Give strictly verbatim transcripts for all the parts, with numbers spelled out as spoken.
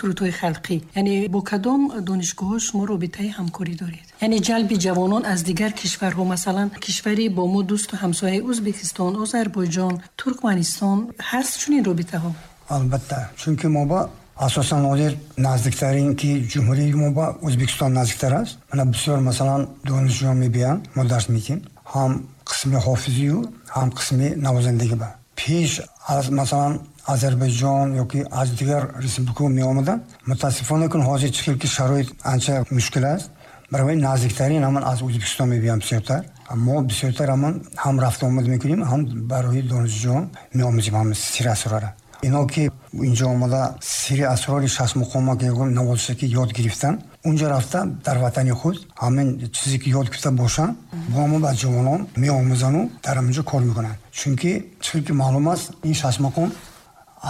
Сурудҳои халқӣ, яъне бо кадом донишгоҳҳо шумо робитаи ҳамкорӣ доред? Яъне ҷалби ҷавонон аз дигар кишварҳо, масалан, кишвари бо мо дӯсту ҳамсояи Ӯзбекистон, Озарбойҷон, Туркманистон, ҳаст чунин робитаҳо? Албатта, чунки мо ба асосан ҳозир наздиктарин ки ҷумҳурии мо ба Ӯзбекистон наздиктар аст. Мана бисёр, масалан, донишҷӯён мебиёянд, мо дарс медиҳем, ҳам қисми ҳофизию, ҳам қисми навозандагӣ. Ба пеш аз, масалан, Озарбойҷон ёки аз дигар республикаҳо меомаданд. Мутаассифона, кун ҳозир чӣ хел ки шароит анча мушкил аст, барои наздиктарин ҳамон аз Ӯзбекистон мебиёянд бисёртар. Мо бисёртар ҳамон ҳам рафту омад мекунем, ҳам барои донишҷӯён меомӯзем ҳам сири асрора. Ино ки инҷо омада сири асрори шашмуқома ки навозиша ки ёд гирифтан, унҷо рафта дар ватани худ ҳамин чизе ки ёд гирифта бошанд, бо ҳамон ба ҷавонон меомӯзану дар ҳаминҷо кор мекунанд. Чунки чӣ ки маълум аст, ин шашмақом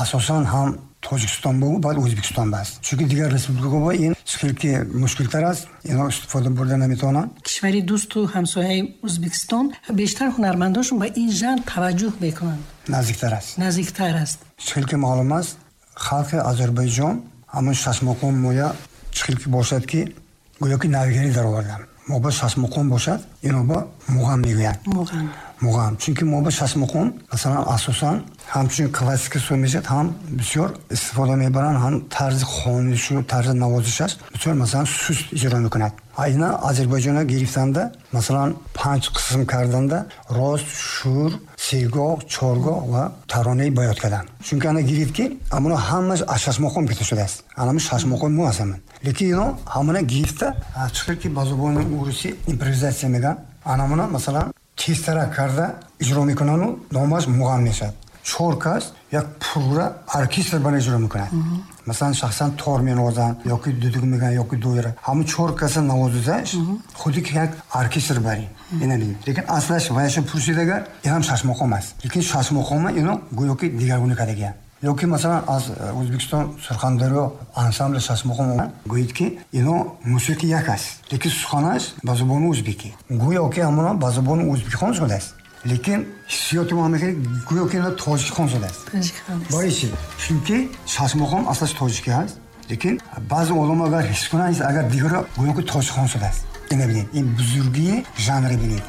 асосан ҳам Тоҷикистон бу, баъд Ӯзбекистон аст, чунки дигар республикаҳо бо ин хел ки мушкилтар аст, ино истифода бурда наметавонанд. Кишвари дӯсту ҳамсояи Ӯзбекистон бештар ҳунармандошон ба ин жанр таваҷҷӯҳ мекунанд. Наздиктар аст. Наздиктар аст. Чӣ хел ки маълум аст, халқи Озарбойҷон ҳамон шашмақом моя чӣ хел ки бошад, ки гӯё ки навигарӣ дароварданд. Мо ба шашмақом бошад, ино ба муғам мегӯянд. Муғам. Муғам, чунки мо ба шашмақом, масалан, асосан ҳамчун классика сур мешавад, ҳам бисёр истифода мебаранд, ҳам тарзи хонишу тарзи навозишаш бисёр, масалан, суст иҷро мекунад. А ина Озарбойҷона гирифтанда, масалан, панҷ қисм карданда: рост, шур, сегоҳ, чоргоҳ ва таронаи боёд карданд. Чунки ана гирифт ки амоно ҳамаш аз шашмақом гирифта шудааст, анами шашмақом мо аст ҳамин, лекин ино ҳамона гирифта, чӣ хел ки ба забони урусӣ импровизатсия мегӯянд, анамона, масалан, тезтарак карда иҷро мекунанду номаш муғам мешавад. Чор кас як пурра оркестр бана иҷро мекунад. Масалан, шахсан тор менавозанд ёки дудук мегӯянд, ёки доира. Ҳамун чор каса навозизаш худи ки як оркестр барин ина бинед. Лекин аслаш ваяша пурсид агар, ин ҳам шашмақом аст, лекин шашмақома ино гӯё ки дигаргуна кардагиянд. Ёки, масалан, аз Ӯзбекистон Сурхандарё ансамбли шашмақом гӯед ки ино мусиқи як аст, лекин суханаш ба забони ӯзбекӣ, гӯё ки ҳамона ба забони ӯзбекӣ хон шудааст, лекин ҳиссиёти мо ҳамин гӯё ки ино тоҷикӣ хон шудааст. Барои чӣ? Чунки шашмақом аслаш тоҷикӣ ҳаст, лекин баъзе одам агар ҳис кунанд, агар дигаро гӯё ки тоҷик хон шудааст. Ина бинед, ин бузургии жанре бинед.